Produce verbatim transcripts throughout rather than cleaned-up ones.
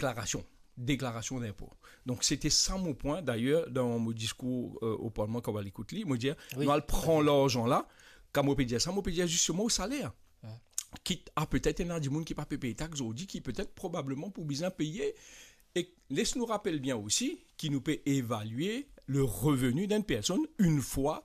deklarasion, deklarasion dinpo. Donk, sete sa mo pwin, dayer, dan mo diskour, euh, o Parlman, kan mo al ekout li, mo dir, wi, nou al pran larzan la, kan mo pe dir sa, mo pe dir zisteman o saler. Wi. Kit a petet ena dimoun ki pa pe pey tax zordi, ki petet probableman pou bizin peye. E les nou rapel bien osi ki nou pe evalie le revenu d'une personne une fois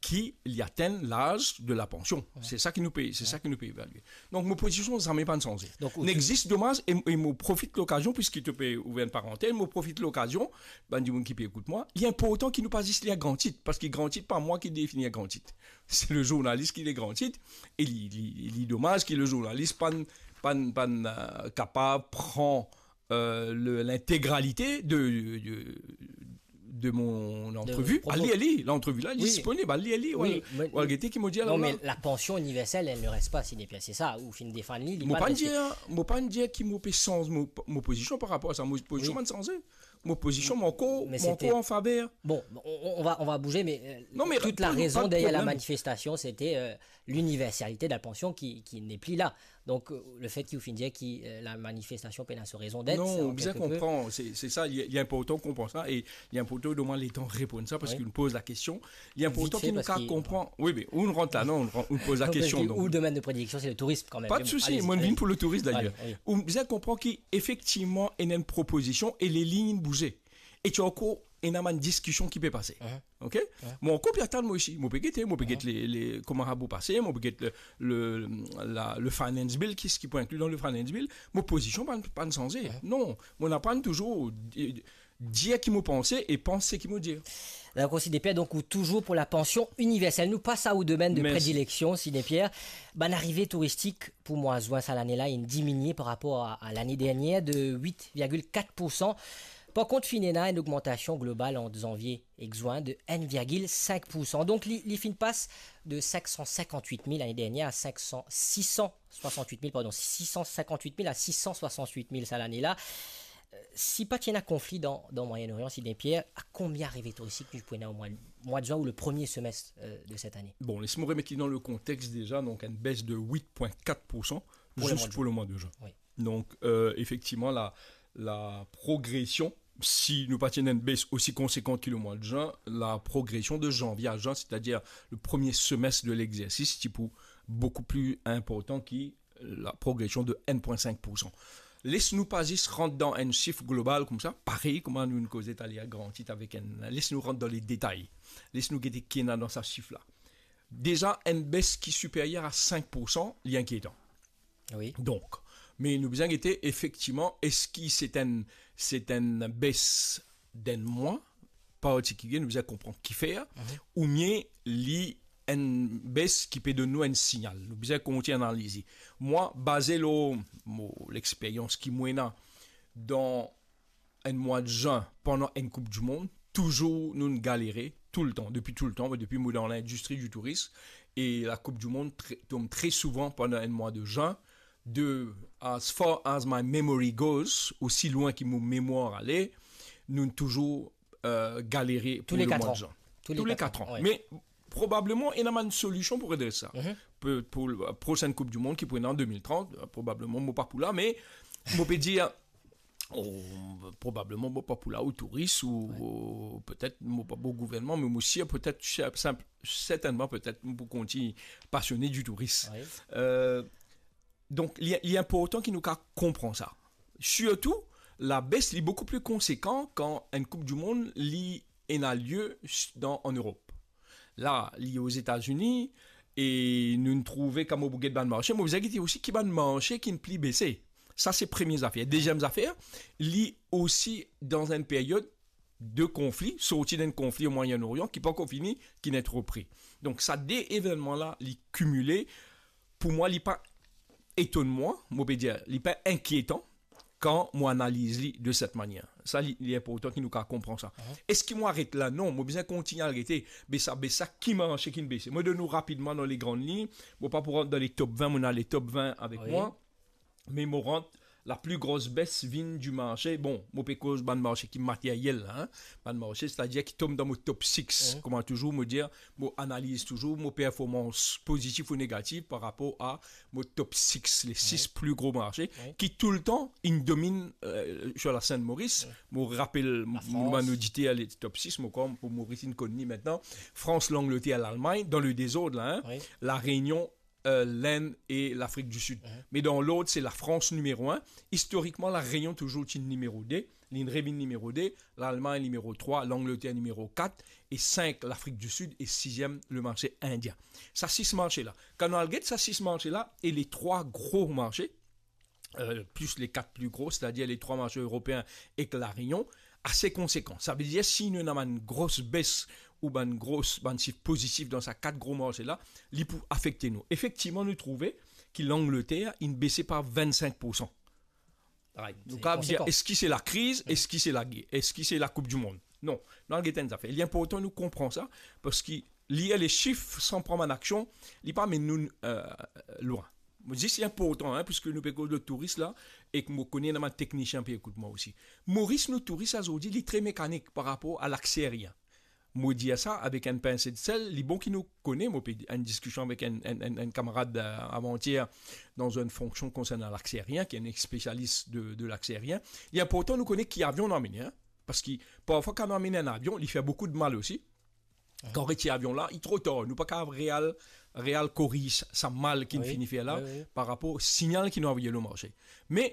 ki li atenn laz de la pansion. Wi. Se sa ki nou pe, se sa ki nou pe evalie. Donk, mo pozision zame pa'nn sanze. Donk, ou... Nek zis domaz, e, e mo profit lokazion, piski to pe ouver enn parantez, mo profit lokazion, bann dimoun ki pe ekout mwa, li inportan ki nou pa zis lir gran tit, paski gran tit, pa mwa ki defini gran tit. Se le zournalis ki lir gran tit, e li, li, li domaz ki le zournalis pa'nn, pa'nn, pa'nn, euh, kapav pran euh, le, l'intégralité de, de, de mon entrevue. Al lir li, lantrevi la, li... Wi. Disponib, al lir li, wi, ou al, me ou al gete ki mo dir la. Non, me la pansion iniversel, elle ne reste pas, Sidney Pierre, se sa, ou finn defann li, li... Mo pa pa'nn dir, mo pa'nn dir ki mo pe sanz mo, mo pozision par rapor a sa, mo pozision... Wi. Pa'nn sanze. Mo pozision, mo ankor, mo ankor an faver. Bon, on, on, on va, on va bouger, mais, euh, non, mais toute la raison derrière la manifestation, c'était, euh, l'universalité de la pension qui, qui n'est plus là. Donk, euh, le fet ki ou finn dir ki, euh, la manifestasion pena so rezon det, non, ou bizin konpran, se, se sa, li, li inportan konpran sa, e li inportan donn mwa letan reponn sa, paski... Wi. Nou poz la kestion. Li inportan ki nou kapav konpran. Wi, me ou nou rant la, non, ou nou poz la kestion, donk. Ou domenn de predileksion, se le tourism, kanmem. Pa de sousi, mo vinn pou le tourism, dayer. Ale, ale. Ou bizin konpran ki, efektivman, ena enn propozision e le lign bouze. E ti ankor ena bann diskision ki pe pase. Mhm. Ok? Wi. Mo ankor pe atann mwa osi. Mo pe gete, mo pe get le, le, kouma sa pou pase, mo pe get le, le, la, le finance bill, ki, ki pou inkli dan le finance bill. Mo pozision pa'nn, pa'nn sanze. Wi. Non, mo pa'nn touzour di-, dir ki mo panse e pans seki mo dir. Dakor, Sidney Pierre, donk ou touzour pou la pansion iniversel. Nou pas a ou domenn de predileksion, Sidney Pierre. Bann arive touristik pou mwa zin sa lane la, inn diminie par rapor a, a lane dernier de wit virgil kat poursan. Par kont, finn ena enn ogmantasion global ant zanvie ek zin de enn virgil sink poursan. Donk, li, li finn pas de sink san sinkant-wit mil lane dernier a sink san, sis san swasant-wit mil, pardon, sis san sinkant-wit mil a sis san swasant-wit mil sa lane la. Euh, si pa ti ena konfli dan, dan Moyen-Orient, Sidney Pierre, a konbien arive touristik nou pou ena o mwa, mwa de zin ou le premie semest, euh, de set ane? Bon, les mo remet li dan le kontex deza, donk enn bes de wit pwin kat poursan, pou le mwa de zin. Pou le mwa de zin. Wi. Donk, euh, efektivman, la, la progresion, si nou pa ti ena enn bes osi konsekan ki le mwa de zin, la progresion de zanvie a zin, setadir le premie semest de legzersis, ti pou boukou pli inportan ki la progresion de enn pwin sink poursan. Les nou pa zis rant dan enn sif global koumsa, parey kouma nou inn koze taler a gran tit avek enn, les nou rant dan le detay. Les nou gete ki ena dan sa sif la. Deza, enn bes ki siperyer a sink poursan, li inkietan. Wi. Donk, me nou bizin gete efektivman, eski se enn, se enn bes d'enn mwa partikilie, nou bizin konpran kifer, mhm, oubien li enn bes ki pe donn nou enn signal. Nou bizin kontign analize. Mwa, baze lor mo, lexperyans ki mo ena dan enn mwa de zin pandan enn Koup di Mond, touzour nou'nn galere, toultan, depi toultan, depi mo dan lindistri di tourism, e la Koup di Mond tre, tom tre souvan pandan enn mwa de zin, de, as far as my memory goes, osi lwin ki mo memwar ale, nou'nn touzour, euh, galere pou le mwa de zin. Tou le kat an. Tou le kat an, wi. Me probableman, ena bann solision pou redres sa. Mhm. Pou, pou le prosenn Koup di Mond ki pou ena an de mil trant, euh, probableman, mo pa pou la, me mo pe dir, o, probableman, mo pa pou la, ou touris, ou, wi, ou petet, mo pa pou gouvernman, me mo sir, petet, sinp, sertennman, petet, mo pou kontign pasione di touris. Wi. Euh, Donk, li, li inportan ki nou kapav konpran sa. Sirtou, labes li boukou pli konsekan kan enn Koup di Mond li ena lie s-, dan, an Erop. La, li Ozetazini, e nou'nn trouve kan mo pou get bann marse, mo bizin gete osi ki bann marse ki'nn pli bese. Sa, se premie zafer. Deziem zafer, li osi dan enn peryod de konfli, sorti dan enn konfli o Moyen-Orient, ki pa ankor fini, ki'nn et repri. Donk, sa de evennman la, li kimile, pou mwa, li pa etonn mwa, mo pe dir, li pa inkietan, kan mo analiz li de set manier. Sa, li, li inportan ki nou kapav konpran sa. Mhm. Eski mo aret la? Non, mo bizin kontign al gete, be sa, be sa, ki marse ki'nn bese. Mo donn ou rapidman dan le grann lign, mo pa pou rant dan le top vin, mo ena le top vin avek mwa. Wi. Me mo rant La pli gros bes vinn di marse, bon, mo pe koz bann marse ki materyel la, hein. Bann marse, setadir ki tom dan mo top six. Mhm. Kouma touzour, mo dir, mo analiz touzour mo performans pozitif ou negatif par rapor a mo top six, le sis pli gro marse, wi, ki toultan inn dominn, euh, sur la scène Maurice. Wi. Mo rapel, la mo, mo Frans. Bann oditer, le top six, mo krwar pou Maurice inn konn li aster. Frans, Langleter, Lalmagn, dan le dezord la, hein. Wi. La Reunion, euh, l'Inde et l'Afrique du Sud. Mhm. Me dan lord, se la Frans nimero in. Istorikman, La Reunion touzour ti nimero de, linn revinn nimero de, Lalmagn nimero trwa, Langleter nimero kat, e sink, Lafrik di Sid, e siziem, le marse indien. Sa sis marse la. Kan nou al get sa sis marse la, e le trwa gro marse, euh, plis le kat pli gro, setadir le trwa marse eropeen ek La Reunion, ase konsekan. Savedir, si nou ena bann gros bes ou bann gros, bann sif pozitif dan sa kat gro marse la, li pou afekte nou. Efektivman, nou trouve ki Langleter inn bese par vennsink poursan. Right. Se konsekan. Nou kapav dir, eski se lakriz, eski se lager, eski se Lakoup di Mond? Non, nou al get enn zafer. Li inportan nou konpran sa, parski lir le sif san pran bann aksion, li pa amenn nou, euh, lwin. Mo zis, li inportan, hein, piski nou pe koz de touris la, ek mo kone ena bann teknisien pe ekout mwa osi. Moris, nou touris azordi, li tre mekanik par rapor a lakse aerien. Mo dir sa avek enn pinse de sel, li bon ki nou kone, mo pe dir, enn diskision avek enn, enn, enn, enn kamarad, euh, avantier, dan enn fonksion konsernan lakse aerien, ki enn spesialis de, de lakse aerien. Li inportan nou kone ki avion nou amene, hein. Parski parfwa, kan nou amene enn avion, li fer boukou de mal osi. Kan retir avion la, li tro tar, nou pa kapav real, real koriz sa mal ki nou fini fer la, wi, wi, par rapor signal ki nou avoye lor marse. Me,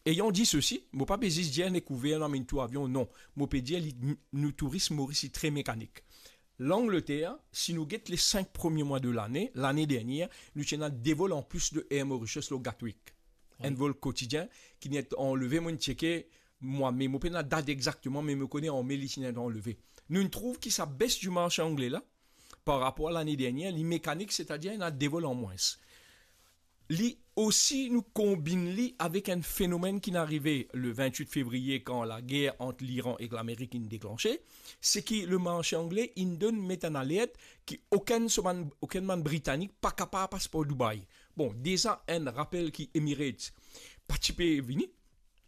ayant dit ceci, mo pa pe zis dir nek ouver, nou amenn tou avion, non. Mo pe dir li, nou touris Moris li tre mekanik. Langleter, si nou get le sink premie mwa de lane, lane dernier, nou ti ena de vol anplis de Air Mauritius lor Gatwick. Wi. Enn vol kotidien, ki inn et anleve, mo inn tcheke, mwa me, mo pena dat exakteman, me mo kone an me li ti inn et anleve. Nou trouv ki sa bes di marse angle la, par rapor a lane dernier, li mekanik, setadir ena de vol an mwins. Li osi, nou konbinn li avek enn fenomenn ki inn arive le vintwit fevriye, kan lager ant Liran ek Lamerik inn deklanse, se ki le marse angle inn donn met enn alert ki okenn so bann, okenn bann Britanik pa kapav pas par Dubai. Bon, deza enn rapel ki Emirates pa ti pe vini.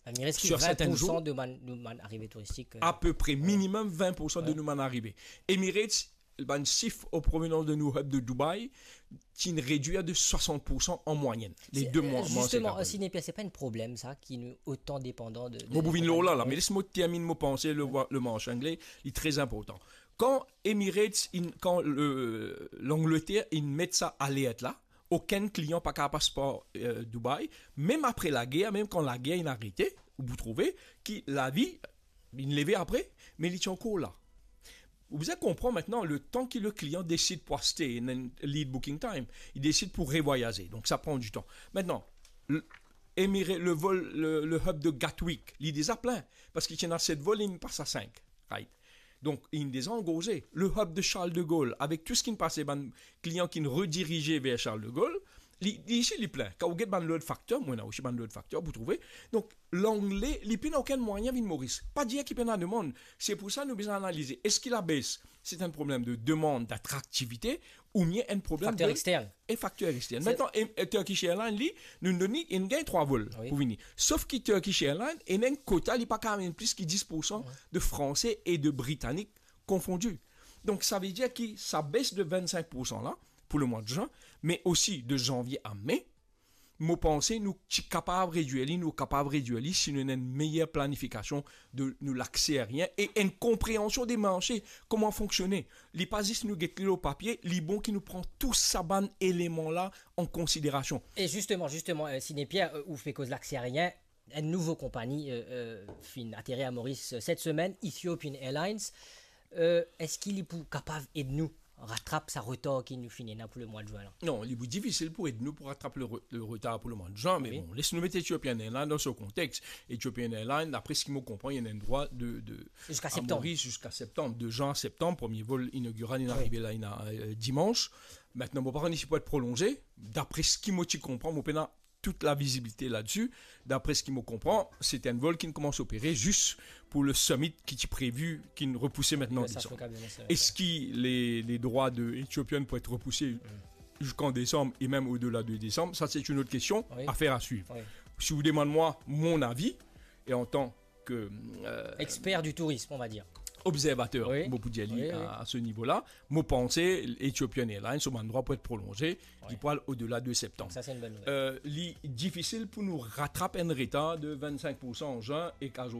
Emirates ki sur serten zour, vin poursan de bann, de bann arive touristik, euh, apepre, minimem vin poursan de nou bann arive. Emirates, bann sif o provenans de nou hub de Dubai, ti inn redwir de swasant poursan an mwayenn, le de mwa, euh, mwa, justement, sek apre. Sinepi, se pa enn problem sa, ki nou otan depandan de, de... Mo pou vinn lor la, la, me les mo terminn mo panse, le, le marse angle, li tre inportan. Kan Emirates inn, kan le, Langleter inn met sa alert la, okenn klian pa kapav pas par, euh, Dubai, mem apre lager, mem kan lager inn arete, ou pou trouve ki lavi inn leve apre, me li ti ankor la. Ou bizin konpran aster, le tan ki le klian desid pou aste, ena enn lead booking time, li desid pou revwayaze, donk sa pran ditan. Aster, le, Emira-, le vol, le, le hub de Gatwick, li deza plin, parski ti ena set vol, li pas a sink, right? Donk, inn deza angorze. Le hub de Charles de Gaulle, avek tou seki inn pase, bann klian ki inn redirize ver Charles de Gaulle, li, li isi, li plin. Kan ou get bann load factor, mo ena osi bann load factor pou trouve. Donk, Langle, li pena okenn mwayin vinn Moris. Pa dir ki pena demann. Se pou sa nou bizin analize. Eski la bes, se enn problem de demann, d'atraktivite, oubien enn problem de... Fakter extern. E fakter extern. Se... Aster, e, e Turkish Airlines, li, nou donn li, inn gagn trwa vol pou vini. Sof ki Turkish Airlines, ena enn kota, li pa kapav amenn plis ki dis poursan de Franse e de Britanik konfondi. Donk, savedir ki sa bes de vennsink poursan la, pou le mwa de zin, me osi de zanvie a me, mo panse nou ti kapav redwir li, nou kapav redwir li si nou ena enn meyer planifikasion de nou lakse aerien e enn konpreansion de marse, kouma fonksionn. Li pa zis nou get li lor papie, li bon ki nou pran tou sa bann eleman la an konsiderasion. E zisteman, zisteman, euh, Sidney Pierre, euh, ou pe koz lakse aerien, enn nouvo konpagni, euh, euh, finn aterir a Moris, euh, set semenn, Ethiopian Airlines. Euh, eski li pou kapav ed nou ratrap sa retar ki nou finn ena pou le mwa de zin la? Non, li pou difisil pou ed nou pou ratrap le re-, le retar pou le mwa de zin, me bon, les nou met Ethiopian Airlines dan so kontex. Ethiopian Airlines, dapre seki mo konpran, li ena enn drwa de, de, ziska septanm. Ziska septanm, de zin a septanm, premie vol inogiral, li arive la, li ena, euh, dimans. Aster, mo pa konn si pou et prolonze. Dapre seki mo ti konpran, mo pena tout lavizibilite ladsi. Dapre seki mo konpran, se enn vol ki koumans opere zis pou le summit ki ti previ, ki repouse aster an desanm. Eski le, le drwa de Ethiopian pou et repouse ziska desam e mem odela de desam? Sa, se enn lot kestion, afer a swiv. Si ou demann mwa mon avi, e antan ke, euh, Expert du tourisme, on va dire. observateur, Oui. mo pou dir li Oui, oui. a, a ce niveau-là, mo panse Ethiopian Airlines, so bann drwa pou et prolonze, li pou al odela de septanm. Sa, se enn bonn nouvel. Euh, li difisil pou nou ratrap enn retar de vennsenk poursan an zin e kaz